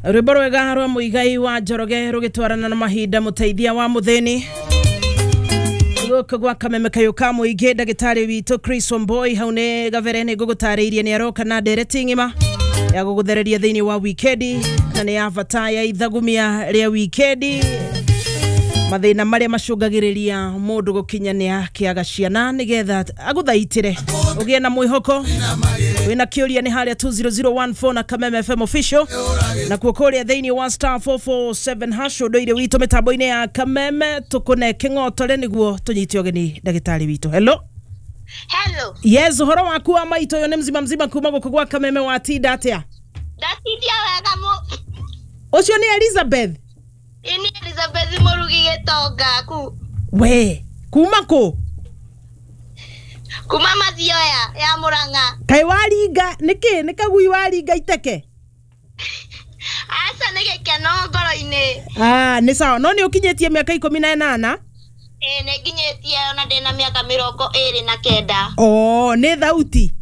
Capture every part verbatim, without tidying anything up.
Rwĩmbo rwega rwa Mũigai wa Njoroge rũgĩtwarana na mahinda, mũteithia wa mũthĩni gũkũ gwa Kameme kayũ ka mũingĩ. Ndagĩtarĩ witũ Chris Wamboi hau nĩ gabere nĩ ngũgũtarĩirie nĩ aroka na ndereti ng'ima ya gũgũthereria thĩinĩ wa wikendi, na nĩ ya bata ya ithagumia rĩa wikendi, mathĩna marĩa macũngagĩrĩria mũndũ gũkinyania kĩaga ciana, nĩgetha agũthaitĩre ũgĩe na mwĩhoko. Wĩna kĩũria nĩ harĩa two zero zero one four na Kameme F M official, na kuo kũrĩa thĩinĩ wa star four four seven hash. Ũndũire witũ mĩtambo-inĩ ya Kameme tũkũne kĩng'otore nĩguo tũnyite ũgeni ndagĩtarĩ witũ. Hello. Hello. Yes, ũhoro waku wa maitũ? Ũyũ nĩ mzima mzima kuma gũkũ gwa Kameme. Watinda atĩa? Ndatindia wega mu. Ũcio nĩ Elizabeth? Ini Elizabeth Murugi Gĩtonga ku. We kuma kũ? Kuma Mathioya ya Murang'a. Kaĩ waringa nĩkĩ? Nĩ kagui waringa iteke? Aca, nĩ gĩkeno ngoro-inĩ. Ah, nĩ sawa, no nĩ ũkinyĩtie mĩaka ikũmi na ĩnana? Ĩĩ, nĩ nginyĩtie, ona ndĩna mĩaka mĩrongo ĩrĩ na kenda. O nĩ thauti.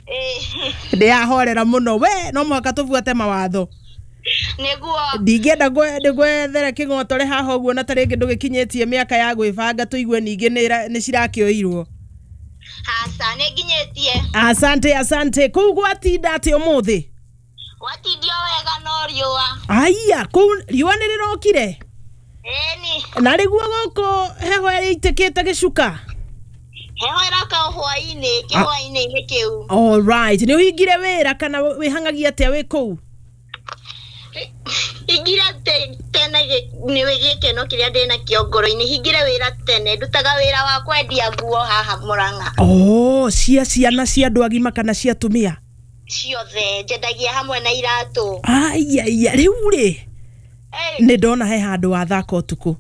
Ĩĩ. Ndĩyahorera mũno. We no mũhaka tũbuate mawatho. Nĩguo. Ndingĩenda ngwethere kĩng'otore haha ũguo na ta rĩngĩ ndũgĩkinyĩtie mĩaka ya gwĩbanga, tũigue ningĩ nĩ ĩra- nĩ cirakĩoirwo. Aca, nĩ nginyĩtie. Asante, asante. Kũu gwatinda atĩ ũmũthĩ? Watindio wega no riũa. Aya, kũu riũa nĩ rĩrokire? Ĩni. Na rĩguo gũkũ heho ĩitĩkĩte gĩcuka? Heho ĩroka o hwaĩ-inĩ, kĩhwaĩ-inĩ kĩu. Alright, nĩ ũhingire wĩra kana wĩhangagia atĩa wĩ kũu? Hingire te- tene gĩ- nĩ gĩkeno kĩrĩa ndĩnakĩo ngoro-inĩ, hingire wĩra tene. Ndutaga wĩra wa kwendia nguo haha Mũrang'a. Oh, cia ciana, cia andũ agima kana cia atumia? Ciothe njendagia hamwe na iratũ. Aiaia, rĩu rĩ, Eh, nĩ ndona he handũ wathaka ũtukũ.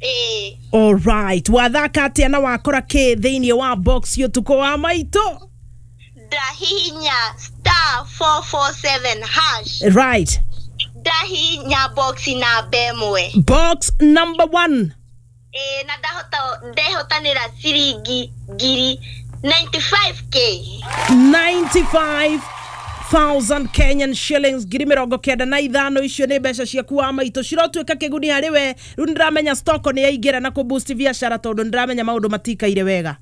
Ĩĩ. Alright, wathaka atĩa na wakora kĩ thĩinĩ wa box ũtukũ wa maitũ? Ndahihinya star four four seven hash. Right ndahihinya box namba ĩmwe. Box number one. Ĩĩ, na ndahota ndehotanĩra ciringi ngiri mĩrongo kenda na ithano k. ninety-five thousand Kenyan shillings, ngiri mĩrongo kenda na ithano. Icio nĩ mbeca ciaku wa maitũ, cirotuĩka kĩguni harĩ we. Rĩu nĩndĩramenya stoko nĩ yaingĩra na kũ boost biacara, tondũ nĩndĩramenya maũndũ matikaire wega.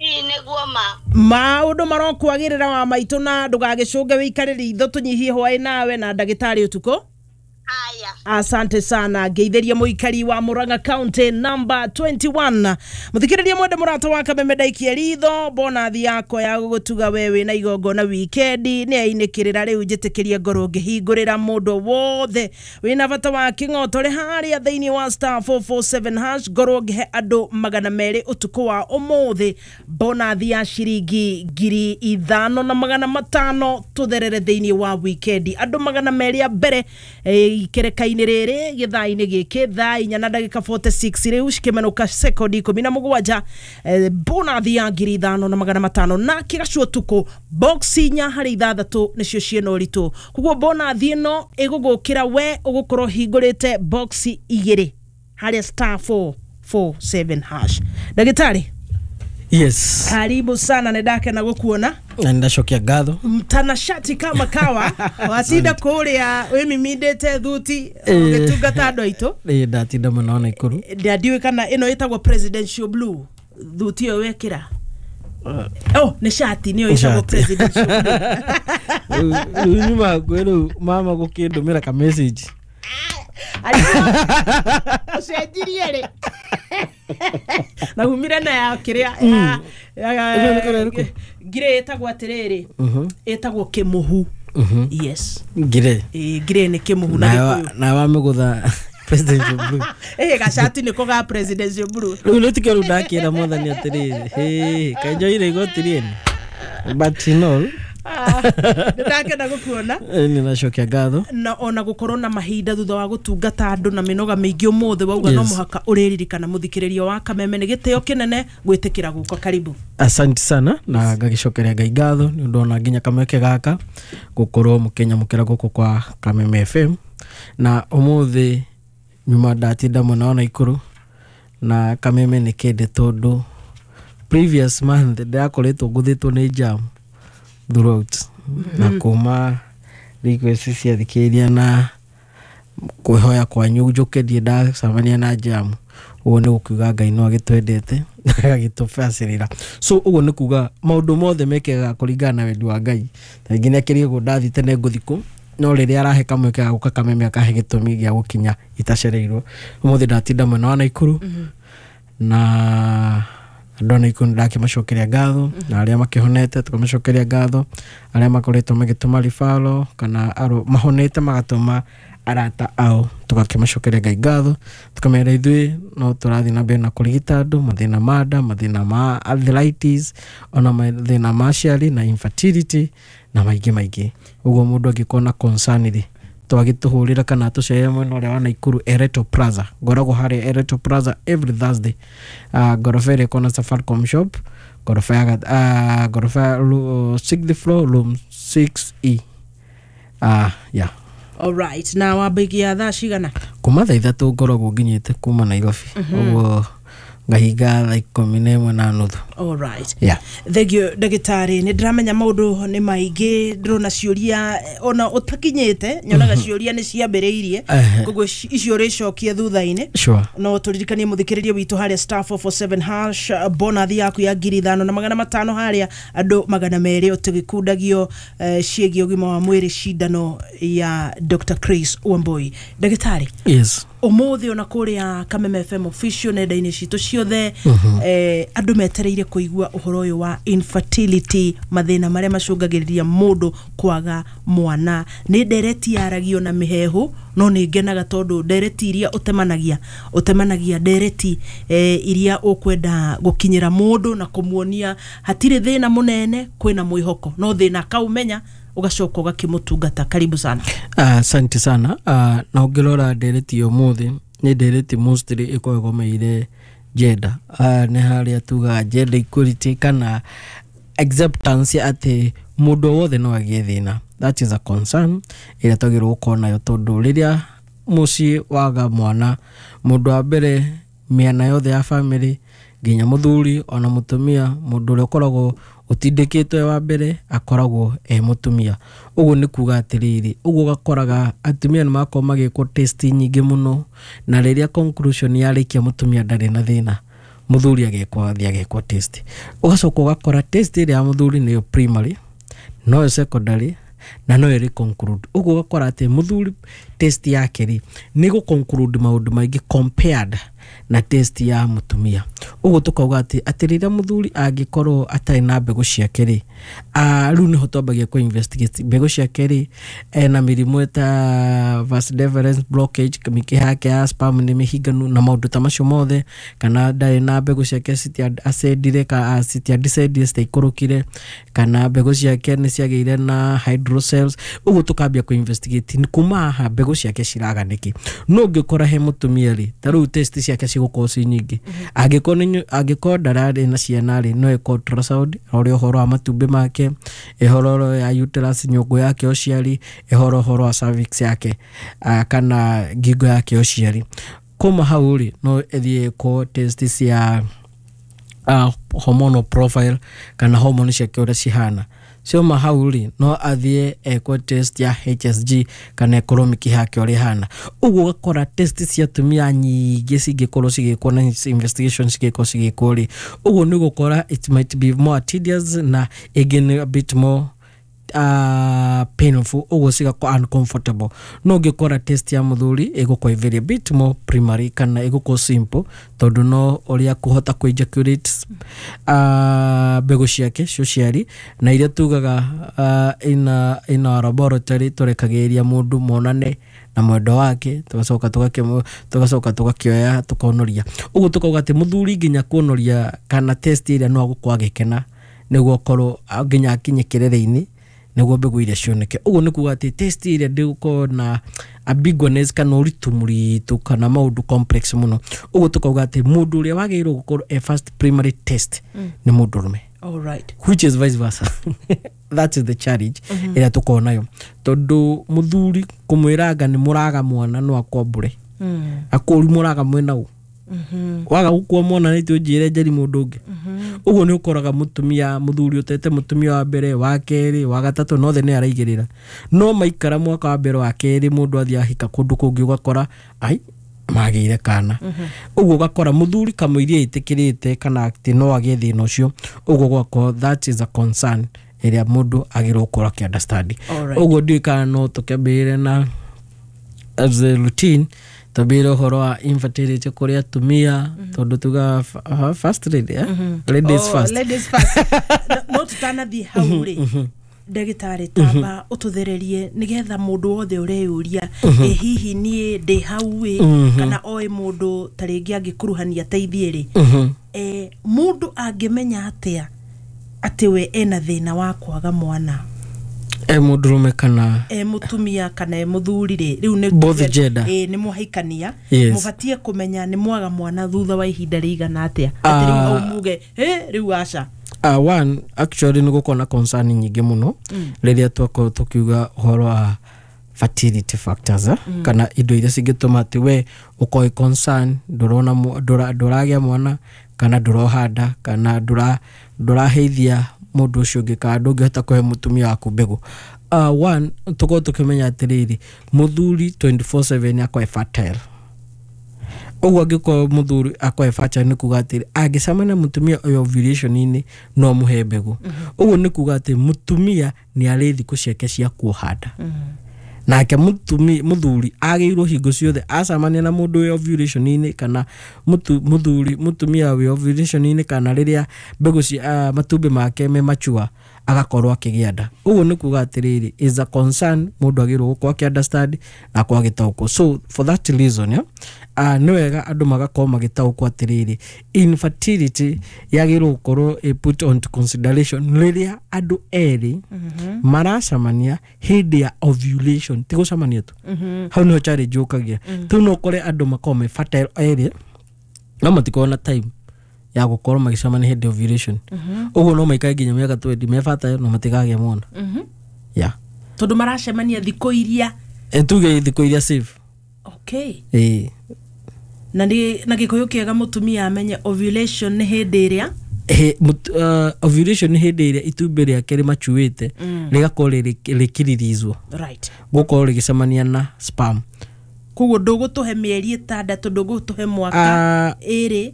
Ĩĩ, nĩguo ma. Maũndũ marokwagĩrĩra wa maitũ, na ndũgagĩcũnge wĩikare ritho tũnyihie hwaĩ nawe na ndagĩtarĩ ũtukũ. Haya. Asante sana. Ngeithĩria mũikari wa Murang'a County number twenty-one. Mũthikĩrĩria mwende, mũrata wa Kameme, ndaikia ritho bonathi yakwa ya gũgũtuga we wĩna igongona wikendi nĩ ainĩkĩrĩra. Rĩu njĩtĩkĩrie ngorwo ngĩhingũrĩra mũndũ wothe wĩna bata wa kĩng'otore harĩa thĩinĩ wa star four four seven hash, ngorwo ngĩhe andũ magana merĩ ũtukũ wa ũmũthĩ bonathi ya ciringi ngiri ithano na magana matano, tũtherere thĩinĩ wa wikendi. Andũ magana merĩ a mbere eh, ikereka-inĩ rĩrĩ gĩthaa-inĩ gĩkĩ thaa inya na ndagĩka mĩrongo ĩna na ithathatũ rĩu cikĩmenũka sekondi ikũmi na mũgwanja, eh, bonathi ya ngiri ithano na magana matano na kĩgacu ũtukũ. Box inya harĩ ithathatũ nĩcio ciĩna ũritũ, koguo bonathi ĩno ĩgũgũkĩra we ũgũkorwo hingũrĩte box igĩrĩ harĩa star four four seven hash. Ndagĩtarĩ, Yes. karibu sana, nĩ ndakena gũkuona. Na ndacokia ngatho. Mtanashati kama kawa, watinda kũrĩa wĩmimindĩte thuti ũgĩtungata andũ aitũ. Ĩ, ndatinda mũno Naikuru. Ndiũĩ kana ĩno ĩtagwo presidential blue, thuti ĩyo wekĩra. Oh, nĩ shati nĩyo ĩtagwo Shati. presidential blue. Rĩu nyuma hakuhĩ rĩu mama gũkĩndũmĩra ka message. Ũcenjirie rĩ na umire na ya kĩrĩa ya- ya- Ĩno nĩ kũrĩa ĩrĩkũ? Ngirĩ ĩtagwo atĩrĩrĩ, ĩtagwo kĩmũhu. Yes. Ngire. Ĩ, ngirĩ nĩ kĩmũhu na Gĩkũyũ. Na wamĩgũtha presidential blue. Ĩ, gacati nĩko ga presidential blue. Rĩu nĩ tikio rĩu ndakĩra mwathani atĩrĩrĩ, hĩ kaĩ njoire igoti rĩene, but in all, Ah, nĩ ndakena gũkuona. Nĩ ndacokia ngatho. Na ona gũkorwo na mahinda thutha wa gũtungata andũ na mĩnoga mĩingĩ ũmũthĩ, wauga no Yes. mũhaka ũrĩririkana mũthikĩrĩrio wa Kameme. Nĩ gĩtĩo kĩnene gwĩtĩkĩra gũka. Karibu. Asante sana, na ngagicokeria Ngai ngatho nĩ ũndũ ona nginya kamweke gaka gũkorwo mũkĩnyamũkĩra gũkũ kwa Kameme F M. Na ũmũthĩ nyuma ndatinda mwena wa Naikuru na Kameme nĩ kĩndĩ, tondũ previous month ndĩrakoretwo ngũthĩtwo nĩ jam throughout na kuma request cia thikĩrĩria na Kwĩhoya kwanyu njũke ndiĩ ndacemania na jamu, ũguo nĩ gũkiuga Ngai no agĩtwendete agagĩtũbacĩrĩra. So ũguo nĩ kuga maũndũ mothe mekĩkaga kũringana na wendi wa Ngai. Ta rĩngĩ nĩ akĩrĩ ũguo ndathiĩ tene ngũthiĩ kũ, no rĩrĩa arahe kamweke ga gũka Kameme akahe gĩtũmi gĩa gũkinya itacereirwo. Ũmũthĩ ndatinda mwena wa Naikuru na andũ a Naikuru nĩndakĩmacokeria ngatho, na arĩa makĩhonete tũkamacokeria ngatho, arĩa makoretwo magĩtũma ribaro kana aro mahonete magatũma arata ao, tũgakĩmacokeria Ngai ngatho, tũkamera ithuĩ no tũrathiĩ na mbere na kũrigita andũ mathĩna ma nda, mathĩna ma arthritis, ona mathĩna ma aciari na infertility na maingĩ maingĩ. Ũguo mũndũ angĩkorwo na concern rĩ, twagĩtũhũrĩra kana tũcere mwena ũrĩa wa Naikuru Ereto Plaza. Ngoragwo harĩa Ereto Plaza every Thursday, uh, ngoroba ĩrĩa ĩkoragwo na Safaricom shop, ngoroba ya uh, ngoroba ya uh, sixth floor, room six E. uh, yeah. Alright, na wambagia thaa cigana? Kuma thaa ithatũ ngoragwo nginyĩte kuma Nairobi, ũguo ngahinga thaa ikũmi na ĩmwe na nuthu. Alright. Yeah. Thank you, ndagĩtarĩ. Nĩ ndĩramenya maũndũ nĩ maingĩ, ndĩrona ciũria eh, ona ũtakinyĩte nyonaga ciũria nĩ ciambĩrĩirie. Ehe. Koguo ci- icio ũrĩcokia thutha-inĩ. Sure. No tũririkanie mũthikĩrĩria witũ harĩa star four four seven hash, bonathi yaku ya ngiri ithano na magana matano harĩa andũ magana merĩ ũtũgĩkundagio eh, ciĩgiĩ ũgima wa mwĩrĩ, cindano ya Doctor Chris Wambui. Ndagĩtarĩ, Yes. ũmũthĩ ona kũrĩa Kameme F M official nenda-inĩ citũ ciothe, eh, andũ metereire kũigua ũhoro ũyũ wa infertility, mathĩna marĩa macũngagĩrĩria mũndũ kwaga mwana. Nĩ ndereti yaragio na mĩhehu, no nĩ ngenaga tondũ ndereti iria ũtemanagia ũtemanagia ndereti eh, iria ũkwenda gũkinyĩra mũndũ na kũmuonia hatirĩ thĩna mũnene, kwĩna mwĩhoko, no thĩna akaũmenya ũgacoka ũgakĩmũtungata. Karibu sana. Asante sana. uh, na ũngĩrora ndereti ya ũmũthĩ nĩ ndereti mostly ĩkoragwo ĩgomeire gender. uh, nĩ harĩa tugaga gender equality kana acceptance atĩ mũndũ o wothe no agĩe thĩna. That is a concern ĩrĩa twagĩrĩirwo gũkorwo nayo, tondũ rĩrĩa mũciĩ waga mwana, mũndũ wa mbere mĩena yothe ya family nginya mũthuri ona mũtumia, mũndũ ũrĩa ũkoragwo ũtindĩkĩtwo e wa mbere akoragwo e mũtumia. Ũguo nĩ kuga atĩrĩrĩ, ũguo ũgakoraga atumia nĩ makorwo magĩkwo test nyingĩ mũno, na rĩrĩa conclusion yarĩkia mũtumia ndarĩ na thĩna, mũthuri agekwo, athiĩ agekwo test. Ũgacoka ũgakora test ĩrĩa ya mũthuri nĩyo primary, noyo secondary na no ĩrĩ conclude. Ũguo ũgakora atĩ mũthuri test yake rĩ nĩ gũ conclude maũndũ maingĩ compared na test ya mũtumia. Ũguo tũkauga atĩ atĩ rĩrĩa mũthuri angĩkorwo atarĩ na mbegũ ciake rĩ, ah, rĩu nĩho twambagia kũ investigate mbegũ ciake rĩ, ena mĩrimũ ta vas deferens blockage, mĩkiha yake ya sperm nĩ mĩhinganu na maũndũ ta macio mothe, kana ndarĩ na mbegũ ciake citia ascendire ka citia descendire, citiaikũrũkire, kana mbegũ ciake nĩ ciagĩire na hydrocele. Ũguo tũkambia kũ investigate nĩ kuma haha mbegũ ciake ciraga nĩkĩ. No ũngĩkora he mũtumia rĩ, ta rĩu test ciake cigũkorwo ci nyingĩ. Angĩkorwo nĩ angĩkorwo ndararĩ na ciana rĩ, no ĩko ultrasound ĩrore ũhoro wa matumbĩ make, ĩhoro ya uterus, nyũngũ yake ya ũciari, ĩhoro ũhoro wa cervix yake, ah, kana ngingo yake ya ũciari. Kuma hau rĩ, no ĩthiĩ ĩkwo test cia uh, hormonal profile kana hormone ciake ũrĩa cihana. Cioma hau rĩ, no athiĩ ekwo test ya H S G kana ĩkorwo mĩkiha yake ũrĩa ĩhana. Ũguo ũgakora test cia atumia nyingĩ cingĩkorwo cigĩkwo na investigation cingĩkorwo cigĩkwo rĩ, ũguo nĩ ũgũkora it might be more tedious na ĩngĩ nĩ a bit more uh, painful, ũguo cigakorwo uncomfortable. No ũngĩkora test ya mũthuri ĩgũkorwo very bit more primary kana ĩgũkorwo simple, tondũ no ũrĩa kũhota kũ ejaculate uh, mbegũ ciake cia ũciari na iria tugaga uh, in, a, in our laboratory tũrekagĩrĩria mũndũ monane na mwendo wake, tugacoka tũgakĩmũ tũgacoka tũgakĩoya tũkonoria. Ũguo tũkauga atĩ mũthuri nginya kuonoria kana test ĩrĩa no agũkorwo agĩkena nĩguo akorwo nginya akinye kĩrere-inĩ nĩguo mbegũ iria cioneke. Ũguo nĩ kuga atĩ test ĩrĩa ndĩgũkorwo na ambiguous kana ũritũ mũritũ kana maũndũ complex mũno. Ũguo tũkauga atĩ mũndũ ũrĩa wagĩrĩirwo gũkorwo e first primary test nĩ mũndũrũme, Alright. which is vice versa. That is the challenge ĩrĩa tũkorwo nayo, tondũ mũthuri kũmwĩranga nĩ mũraga mwana no akwambũre, Mm. akũri mũraga mwena ũ. Waga gũkua mwana nĩ tũnjĩre njeri mũndũ ũngĩ. Ũguo nĩ ũkoraga mũtumia mũthuri ũtete mũtumia wa mbere, wa kerĩ, wa gatatũ, nothe nĩ araigĩrĩra, no maikara mwaka wa mbere, wa kerĩ, mũndũ athiĩ ahika kũndũ kũngĩ, ũgakora ai magĩire kana. Ũguo ũgakora mũthuri kamũiria ĩtĩkĩrĩte kana atĩ no agĩe thĩna ũcio. Ũguo ũgakorwo that is a concern ĩrĩa mũndũ agĩrĩirwo gũkorwo akĩ understand. Alright. Ũguo ndiũĩ kana no tũkĩambĩrĩre na as a routine, twambĩrĩre ũhoro wa infertility kũrĩ atumia, tondũ tugaga fa- first lady, eh? Ladies Oh, first. Ladies first. No- no tutanathiĩ hau rĩ, ndagĩtarĩ, tamba ũtũthererie nĩgetha mũndũ wothe ũreyũria ĩ hihi niĩ ndĩ hau ĩ, kana oĩ mũndũ ta rĩngĩ angĩkuruhania ateithie rĩ, eh, mũndũ angĩmenya atĩa atĩ we ena thĩna wa kwaga mwana? E mũndũrũme kana E mũtumia kana e mũthuri rĩ, rĩu nĩ Both gender. Ĩ, nĩ mwahikania, Yes. mũbatiĩ kũmenya nĩ mwaga mwana thutha wa ihinda rĩigana atĩa, atĩ rĩu Ah. au muge "Ĩ, rĩu aca"? Uh, one actually nĩ gũkorwo na concern nyingĩ mũno rĩrĩa twakorwo tũkiuga ũhoro wa fertility factors, eh? Kana indo iria cingĩtũma atĩ we ũkorwo wĩ concern ndũrona mũ- ndũra- ndũragĩa mwana, kana ndũrohanda, kana ndũra- ndũraheithia mũndũ ũcio ũngĩ, kana ndũngĩhota kũhe mũtumia waku mbegũ. uh, one tũkorwo tũkĩmenya atĩrĩrĩ, mũthuri twenty-four seven akorwo e fertile. Ũguo angĩkorwo mũthuri akorwo e fertile, nĩ kuga atĩrĩ angĩcemania na mũtumia ũyũ ovulation-inĩ no mũhe mbegũ. Ũguo nĩ kuga atĩ mũtumia nĩ arĩ thikũ ciake cia kuoha nda, nake mũtumi mũthuri agĩrĩirwo hingo ciothe acemania na mũndũ wĩ ovulation-inĩ, kana mũtu- mũthuri mũtumia wĩ ovulation-inĩ, kana rĩrĩa mbegũ cia uh, matumbĩ make me mature, agakorwo akĩgĩa nda. Ũguo nĩ kuga atĩrĩrĩ, is a concern mũndũ agĩrĩirwo gũkorwo akĩ understand na akorwo agĩtaũkwo. So for that reason, yeah, uh, nĩ wega andũ magakorwo magĩtaũkwo atĩrĩrĩ, infertility yagĩrĩirwo gũkorwo ĩ put on to consideration rĩrĩa andũ erĩ maracemania hĩndĩ ya ovulation, ti gũcemania tu. Hau nĩho challenge yũkagia tu. No ũkore andũ makorwo me fertile erĩ, no matikorwo na time ya gũkorwo magĩcemania hĩndĩ ya ovulation. Ũguo no maikare nginya mĩaka twenty me fertile no matikagĩa mwana, yeah. Tondũ maracemania thikũ iria E, tuge thikũ iria safe. Okay. Ĩĩ. Na nĩ na gĩkũyũ kĩega mũtumia amenye ovulation nĩ hĩndĩ ĩrĩa He- mut- uh, ovulation nĩ hĩndĩ ĩrĩa itumbĩ rĩake rĩmacuĩte rĩgakorwo rĩrĩ- rĩkĩririzwo right gũkorwo rĩgĩcemania na sperm. Koguo ndũgũtũhe mĩeri ĩtandatũ, ndũgũtũhe mwaka, Ah, ĩrĩ?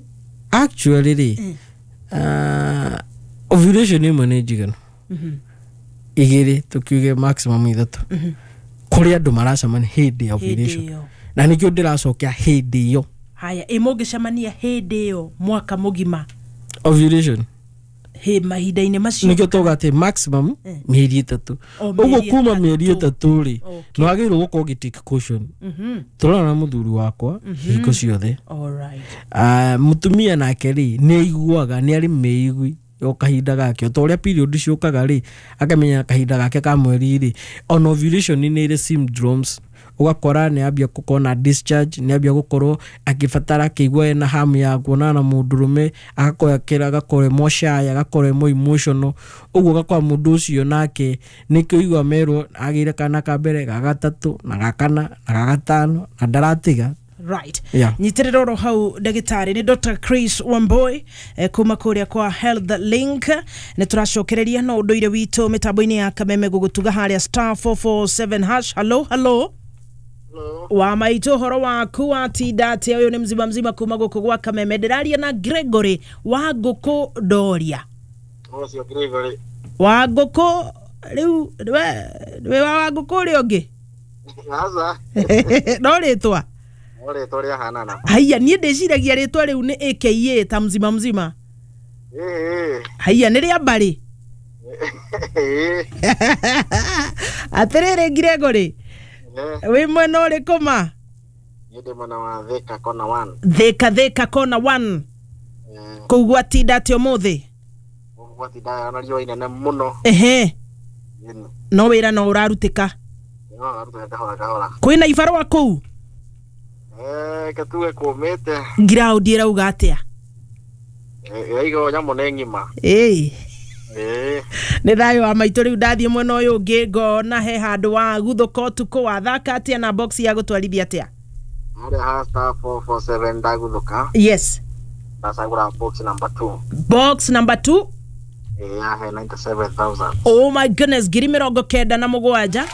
Actually rĩ, uh, ovulation ĩmwe nĩ njiganu, igĩrĩ, tũkiuge maximum ithatũ, kũrĩ andũ maracemania hĩndĩ ya Hĩndĩ ovulation. ĩyo. Na nĩkĩo ndĩracokia hĩndĩ ĩyo. Haya, ĩ mũngĩcemania hĩndĩ ĩyo mwaka mũgima? Ovulation. Hĩ, mahinda-inĩ macio. Nĩkĩo tauga atĩ maximum mĩeri ĩtatũ. O, Ũguo mĩeri kuma ĩtatũ. mĩeri ĩtatũ rĩ, Okay. nĩ wagĩrĩirwo gũkorwo ũgĩ take caution. Tũrona na mũthuri wakwa hingo ciothe. Alright. Ah, mũtumia nake rĩ, nĩ aiguaga nĩ arĩ mĩigui o kahinda gake, o ta ũrĩa period ciũkaga rĩ, akamenya kahinda gake ka mweri rĩ. Ona ovulation nĩ ĩrĩ syndromes, ũgakora nĩ ambia gũkorwo na discharge, nĩ ambia gũkorwo akĩbatara akĩigua ena hamu ya kuonana na mũndũrũme, agakorwo akĩra, agakorwo e more shy, agakorwo e more emotional. Ũguo ũgakora mũndũ ũcio nake nĩkĩo igua merwo agĩire kana ka mbere, ga gatatũ, na ga kana, na ga gatano, na ndaratiga. Right. Yeah. Nyitĩrĩra oro hau, ndagĩtarĩ. Nĩ Dr Chris Wamboi eh, kuma kũrĩa kwa Health Link. Nĩ tũracokereria no ũndũire witũ mĩtambo-inĩ ya Kameme gũgũtuga harĩa star four four seven hash. Hello, hello, wa maitũ, ũhoro waku watinda atĩa? Ũyũ nĩ mzima mzima kuma gũkũ gwa Kameme. Ndĩraria na Gregory wa Ngũkũ Ndoria. Ũcio Gregory. Wa Ngũkũ rĩu we wĩ wa wa Ngũkũ ũrĩa ũngĩ? Aca. No rĩtwa. No rĩtwa rĩahanana. Haiya, niĩ ndĩciragia rĩtwa rĩu nĩ aka ta mzima mzima. Ĩĩ. Haiya, nĩ rĩa mbarĩ. Ĩĩ. Atĩrĩrĩ Gregory, wĩ mwena ũrĩkũ ma? Niĩ ndĩ mwena wa Thika kona one. Thĩka, Thĩka kona one. Kũu gwatinda atĩa ũmũthĩ? Gwatinda na riũa inene mũno. Ehe. Ĩni. No wĩra no ũrarutĩka? No aruta kahora kahora. Kwĩna ibarũa kũu? Eh, ketuge kũmĩte. Ngiraũndi ĩrauga atĩa? Ĩraiga nyamũ nĩ ng'ima. Ĩĩ. Ĩĩ. Nĩ thayũ wa maitũ. Rĩu ndathiĩ mwena ũyũ ũngĩ ngona he handũ wa guthũka ũtukũ. Wathaka atĩa na box ya gũtwarithia atĩa? Harĩa ha star four four seven ndaguthũka. Yes. Ndacagũra box number two. Box number two. Ĩĩ, yahe ninety seven thousand. Oh my goodness, ngiri mĩrongo kenda na mũgwanja.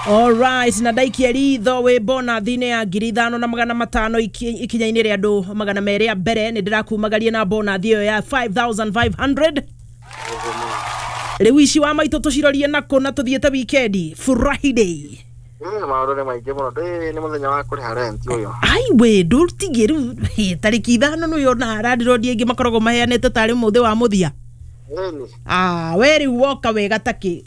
Alright, na ndaikia ritho wĩ bonathi-inĩ ya ngiri ithano na magana matano iki- ikinya-inĩ rĩa andũ magana merĩ a mbere. Nĩ ndĩrakumagaria na bonathi ĩyo ya five thousand five hundred. Rĩu ici wa maitũ tũcirorie nakũ na tũthiĩte wikendi Friday? Ĩĩ, maũndũ nĩ maingĩ mũno. Ndĩ nĩ mũthenya wa kũrĩha rent ũyũ. Aiwe, ndũtigie rĩu hĩ, tarĩki ithano nĩ ona landlord aingĩ makoragwo maheanĩte tarĩ mũthĩ wa mũthia. Ĩni. Ah, we rĩu woka wega takĩ.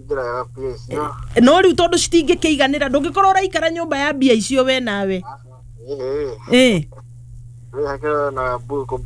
Njĩra ya mbia icio. No rĩu tondũ citingĩkĩiganĩra, ndũngĩkorwo ũraikara nyũmba ya mbia icio we nawe. Ĩĩ. Ĩ. Rĩhakĩra na mbuku.